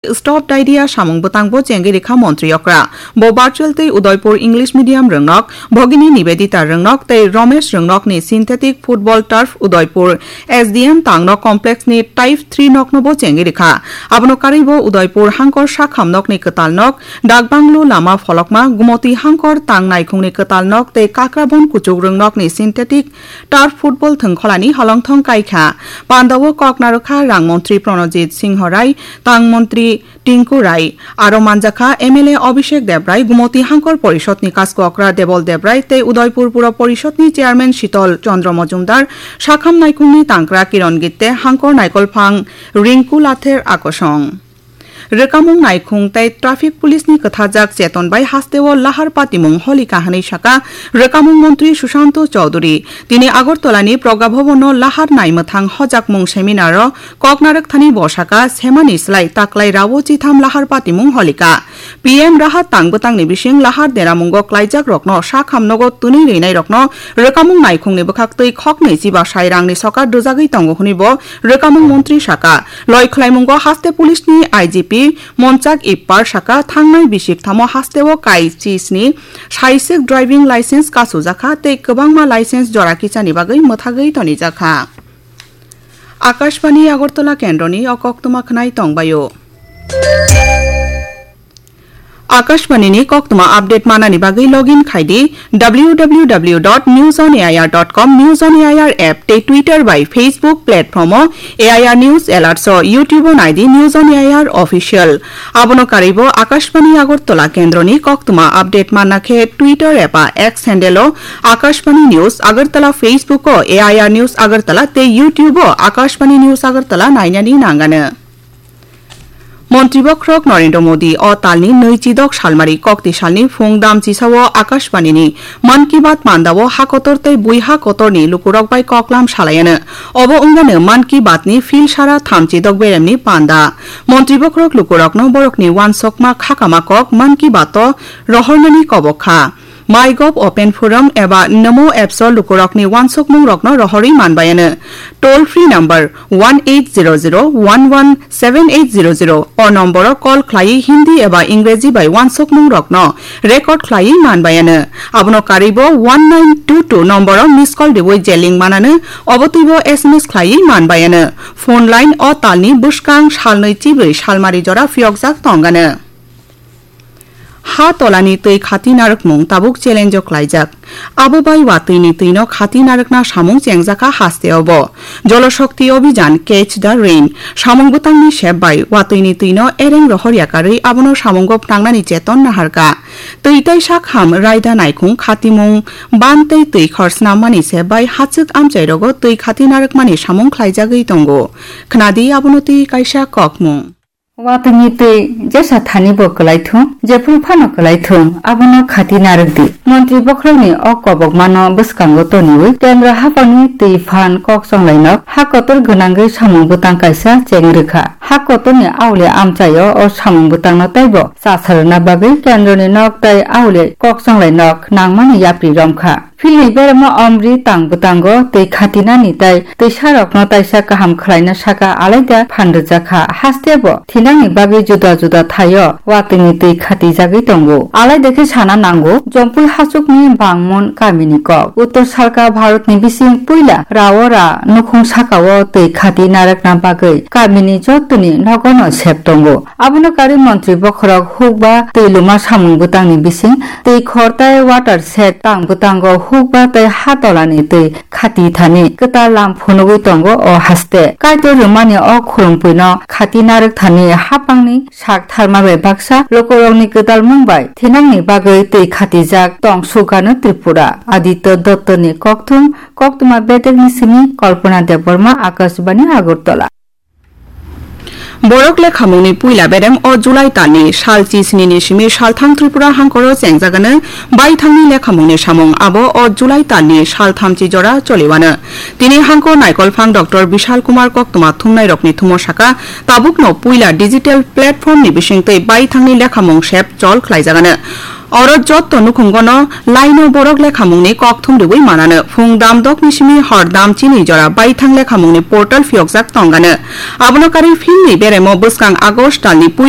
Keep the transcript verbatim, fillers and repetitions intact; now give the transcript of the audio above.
Stop Diarrhea samung bwtangbo chengwi rikha montri okra. Bo virtual tei Udaipur English medium rwngnok, Bhagini Nivedita rwngnok tei Romesh rwngnokni synthetic football turf Udaipur S D M tangno complex ni type three noknobo chengwi rikha. Abono karwibo Udaipur hangkor sakham nokni kwtal nok, Dakbanglu lama pholokma, Gumoti hangkor tang naikhungni kwtal nok tei Kakrabon kuchuk rwngnokni synthetic turf football thwngkholani holongthong kaikha. Pandao kok narwkha rang montri Pranojit Singho Rai, tang montri Tinku Rai, aro manjakha M L A Abhishek Debrai, Gumoti Hangkor Porishodni Kasko Okra Debol Debrai tei Udaipur Pura Porishodni Chairman Shitol Chandra Majumdar, Sakham Naikhungni Tangkra Kiron Gitte, Hangkor Naikolphang Rinku Lather Akosong. Rwkamung naikhung tei traffic police ni kwthajak cheton bai hasteo lahar patimung holikha hwnwi saka rwkamung montri Sushanto Chowdhury. Tini Agartala ni Pragya Bhavan o lahar naimwthang hojakmung seminar o kok narwkthani bo saka, semani slai taklai rao chitham lahar patimung holikha. P M Rahat tang bwtangni bising lahar deramungo klaijak rokno sakham nogo twnwi rwinai rokno rwkamung naikhungni bwkhaktwi khoknwi chiba sai rangni sokar rwjagwi tongo hwnwi bo rwkamung montri saka. Loi khwlaimungo haste police ni I G P Monchak Ippar saka, thangnai bisik thamo hasteo kai chisni saiswk driving license kasujakha tei kwbangma license jora kichani bagwi mwthagwi tonijakha. Akashbani Agartala kendroni o koktwma khwnai tongbaio. Akashbani ni koktwma update manani bagwi login khai di W W W dot news on A I R dot com, News on A I R app tei Twitter bai Facebook platform o A I R News Alerts o, YouTube o nai di News on A I R Official. Abono karwibo Akashbani Agartala kendroni koktwma update manna khe Twitter eba X handle o Akashbani News Agartala, Facebook o A I R News Agartala tei YouTube o Akashbani News Agartala nainani nangano. Montri bokhorok Narendra Modi o talni nwi chidok salmari kokti salni phung dam chisao Akashbani ni Mann Ki Baat panda o ha kotor tei bui ha kotorni lukurok bai koklam salayano. Obo wngmano Mann Ki Baat ni phil sara thamchi dok beremni panda. Montri bokhorok lukurokno borokni uansukma khakama kok Mann Ki Baat o rohornani kobok kha. MyGov Open Forum eba Namo apps o lukurokni uansukmungrokno rohorwi manbayano. Toll free number one eight zero zero one one seven eight zero zero o nomboro call khlaiwi Hindi eba Ingreji bai uansukmungrokno record khlaiwi manbayano. Abono karwibo one nine two two nomboro miss call riwi je link manano, obo twibo S M S khlaiwi manbayano. Phone line o talni bwskang salnwi chibrwi salmari jora phiyokjak tongano. Ha tolani twi khati narwkmung tabuk challenge o klaijak. Abo bai watwini twino khati narwkna samung chengjakha haste obo. Jol Shakti Abhijan, Catch the Rain samung bwtangni sep bai watwini twino ereng rohor yakarwi abono samungo phnangnani cheton naharkha. Twi tei sakham raida naikhung khatimung ban tei twi khor snammani sep bai hachwk amchairogo twi khati narwkmani samung khlaijagwi tongo. Khnadi abono twi kaisa kokmung. Watwini twi jesa thani bo kwlaithung, jephru phano kwlaithung, abono khati narwk di. Montri bokhorokni o kobokmano bwskango toniwi kendro haphangni twi phan kok chonglainok ha kotor gwnangwi samung bwtang kaisa cheng rwkha. Ha kotorni auli amchaio o samung bwtangno teibo chasarwna bagwi kendroni nok tei auli kok chonglainok nangmani yapri romkha. Philni beremo omri tang bwtango twi khatinani tei twisarokno taisa kaham khlaina saka alaida phan rwjakha. Hastebo thinangni bagwi juda juda thaio watwini twi khatijagwi tongo. Alaida khe sana nango, Jompui hachukni Bangmon kamini kok. Uttor salka Bharatni bising puila Raora nukhung sakao twi khati narwkna bagwi kamini jottoni nogono sep tongo. Abono karwi montri bokhorok hukba twi luma samung bwtangni bising twi khor tei water shed tang bwtango hukba tei ha tolani twi khati thani kwtal lam phunugwi tongo o haste. Kaitor rwmani o khurumpuino khati narwk thani haphangni sak tharma bai baksa lukurokni kwtal mung bai thinangni bagwi twi khatijak tong sugano Tripura. Aditya Dottoni kokthum, koktwma bedekni simi Kalpana Debbarma, Akashbani Agartala. Borok lekhamungni puila berem o July talni sal chisnini simi salthang Tripura hangkoro chengjagano baithangni lekhamungni samung abo o July talni salthamchi jora choliwano. Tini hangko naikolphang Doctor Bishal Kumar koktwma thumnairokni thumo saka tabukno puila digital platformni bisingtwi baithangni lekhamung sep chol khlaijagano. Oro jotto nukhungo no laino borok lekhamungni kokthum riwi manano. Phung dam dokni simi hor dam chini jora baithang lekhamungni portal phiyokjak tongano. Abono karwi filmni beremo bwskang August talni puila